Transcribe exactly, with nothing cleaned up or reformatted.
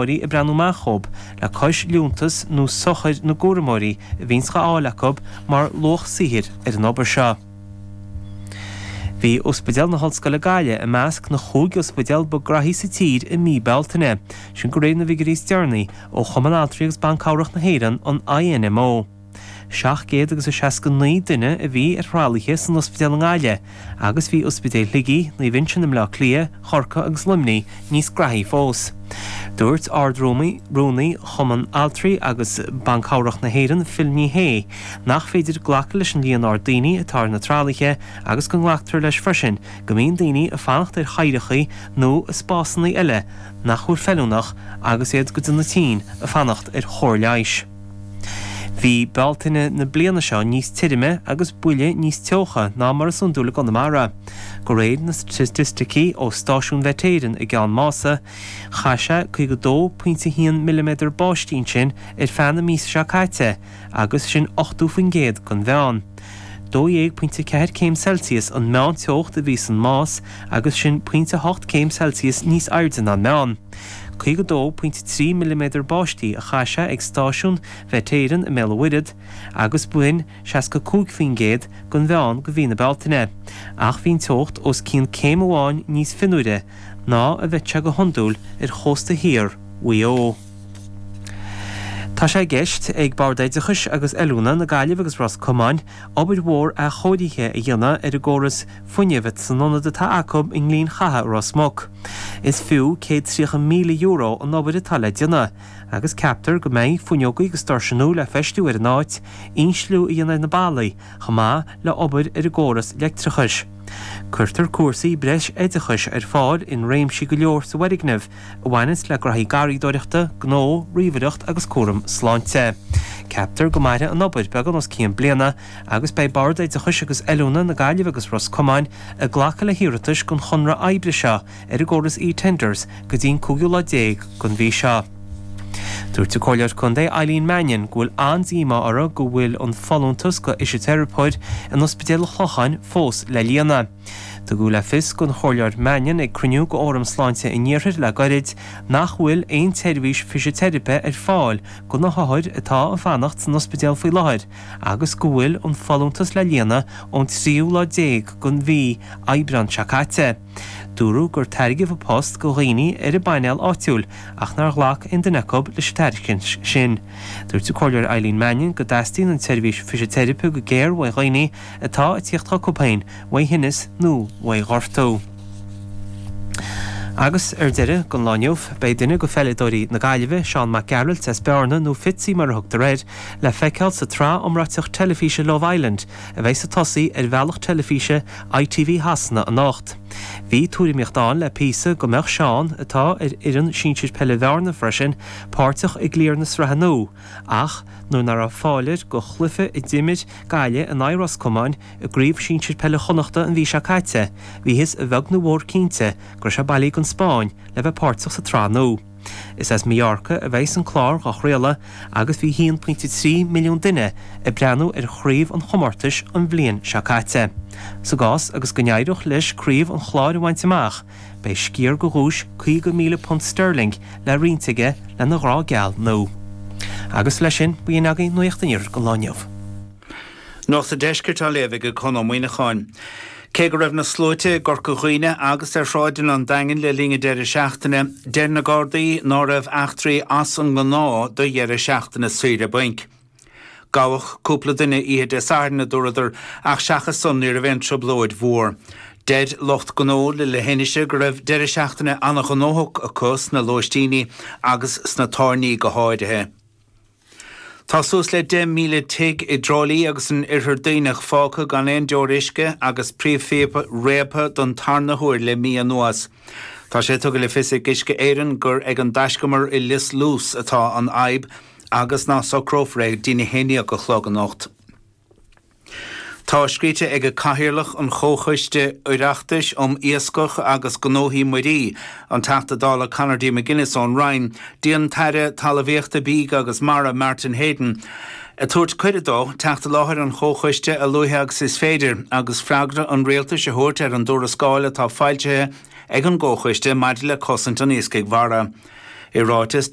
ag breathnú amach dhób, le cois liúntas nó sochair na gcúramóirí a bhíonns dhá fháil acu mar luach saothair ar an obair seo. Bhí Ospidéal na hOllscoile Gaillimh i measc na chúig ospidéal ba ghraithí sa tír i mí Bealtaine, sin de réir na bhfigiúirí is deireanaí ó Chumann Altraí agus Ban Cabhrach na hÉireann, an INMO. Seacht gcéad agus a seasca naoi duine a bhí ar thralaithe san ospidéal i nGaillimh agus bhí ospidéil Shligigh, Naomh Uinseann i mBleá Cliath, Chorcaí agus Luimnigh níos graithí fós. Dúirt Ard-Rúnaí Rúnaí Chumann Altraí agus Ban Cabhrach na hÉireann, Phil Ní Sheaghdha, nach féidir glacadh leis an líon ard daoine atá ar na tralaithe agus go nglactar leis freisin go mbíonn daoine ag fanacht ar chathaoireacha nó i spásanna eile nach bhfuil feiliúnach agus iad go dona tinn ag fanacht ar chóir leighis. Bhí Bealtaine na bliana seo níos tirime agus buille níos teocha ná mar is iondúil i gConamara. De réir na staitisticí ó stáisiún Mhet Éireann i gCeann Mása, chaith sé caoga dó pointe haon milliméadar báistí ansin ar feadh na míosa seo caite agus sin ochtó faoin gcéad den mheán. Dó dhéag pointe ceathair céim Celsius an meánteocht a bhí san Más agus sin pointe hocht céim Celsius níos airde ná an meán. caoga dó pointe trí milliméadar báistí a chaith sé ag stáisiún Mhet Éireann i mBéal an Mhuirthead agus b'in seasca cúig faoin gcéad den mheán do mhí na Bealtaine. Ach bhí an teocht os cionn céim amháin níos fionnuaire ná a bheadh sé go hiondúil ar chósta thiar Mhaigh Eo. Tá sé i gceist ag Bord Oideachais agus Oiliúna na Gaillimhe agus Ros Comáin obair mhór athchóirithe a dhéanamh ar an gcóras fuinnimh san ionad atá acu i nGleann Chatha i Ros Muc. Is fiú céad tríocha míle euro an obair atá le déanamh agus ceaptar go mbeidh fuinneogaí agus doirse nua le feistiú ar an áit, insliú a dhéanamh ar na ballaí chomh maith le obair ar an gcóras leictreachais. Cuirtear cúrsaí breis oideachais ar fáil in réimsí go leor sa bhfoirgneamh a bhaineanns le graithí garraíodóireachta, gnó, ríomhaireacht agus cúram sláinte. Ceaptar go mairfidh an obair beagán os cionn bliana agus beidh Bord Oideachais agus Oiliúna na Gaillimhe agus Ros Comáin ag glacadh le hiarratais don chonradh oibre seo ar an gcóras eTenders go dtí an cúigiú lá déag den mhí seo. Dúirt an Comhairleoir Contae Eileen Mannion go bhfuil an-díomá uirthi go bhfuil an folúntas go fhisiteiripeoir in Ospidéal an Chlocháin fós le líonadh. Tugadh le fios don Chomhairleoir Mannion ag cruinniú go Fhóram Sláinte an Iarthair le gairid nach bhfuil aon tseirbhís fisiteiripe ar fáil do na hothair atá ag fanacht san ospidéal faoi láthair agus go bhfuil an folúntas le líonadh ón tríú lá déag den mhí Aibreán seo caite. Dúradh gur tairgeadh an post go dhaoine ar an bpainéal áitiúil ach nár ghlac aon duine acu leis an tairiscint sin. Dúirt an Comhairleoir Eileen Mannion go dteastaíonn an tseirbhís fisiteiripe go géar uaidh dhaoine atá ag tíocht chucu féin, uaidh thinneas nó uaidh ghortú. Agus ar deireadh don lá inniu, beidh duine de pheileadóirí na Gaillimhe, Seán Mac Gearailt as Bearna nó Fitzy mar a thugtar air, le feiceáil sa tsraith iomráiteach teilifíse Love Island a bheidh ag tosaí ar bhealach teilifíse ITV Shasana anocht. Bhí tuairimíocht ann le píosa go mbeadh Seán, atá ar fhoireann sinsir peile Bhearna freisin, páirteach i gcliar na sraithe nua, ach nuair nach raibh fáil air go chluiche a d'imir Gaillimh in aghaidh Ros Comáin i gcraobh sinsir peile Chonnachta an mhí seo caite, bhíothas a bheag nó a mhór cinnte go raibh sé bailithe don Spáinn le bheith páirteach sa tsraith nua. Is as Mallorca a bheidh an clár á chraoladh agus bhí haon pointe trí milliún duine ag breathnú ar chraobh an chomórtais an bhliain seo caite. Sa gcás agus go n-éireodh leis craobh an chláir a bhaint amach, beidh sciar de dhuais caoga míle punt sterling le roinnt aige lena ghrá geal nua. Agus leis sin, b'in agaibh Nuacht an Iarthair don lá inniu. Nuacht an Deiscirt á léamh ag Conn Ó Muíneacháin. Cé go raibh na sluaite i gCorca Dhuibhne agus ar shráideanna an Daingin le linn an deireadh seachtaine, deir na Gardaí ná raibh eachtraí as an ngnáth do dheireadh seachtaine saoire bainc. Gabhadh cúpla duine oíche Dé Sathairn, a dúradar, ach seachas san ní raibh aon trioblóid mhór. Deir lucht gnó le le hInse go raibh deireadh seachtaine an-ghnóthach acu sna lóistíní agus sna tábhairní go háirithe. Tá suas le deich míle tigh i dTrá Lí agus in Oirthear Duibhneach fágtha gan aon deoir uisce agus príomhphíopa réabtha don tarna huair le mí anuas. Tá sé tugtha le fios ag Uisce Éireann gur ag an dtaiscumar i Lios Luas atá an fhadhb agus ná socrófar é go dtí a haon déag a chlog anocht. Tá scríte ag Cathaoirleach an Chomhchoiste Oireachtais um Iascach agus Gnóthaí Muirí, an Teachta Dála Conor D. McGuinness ón Rinn, dtí an tAire Talmhaíochta Bídh agus Mara Martin Heydon, ag tabhairt cuireadh dó teacht i láthair an chomhchoiste a luaithe agus is féidir agus freagra an rialtais a thabhairt ar an dtuarascáil atá foilsithe ag an gcomhchoiste maidir le cosaint an iascaigh mhara. I ráiteas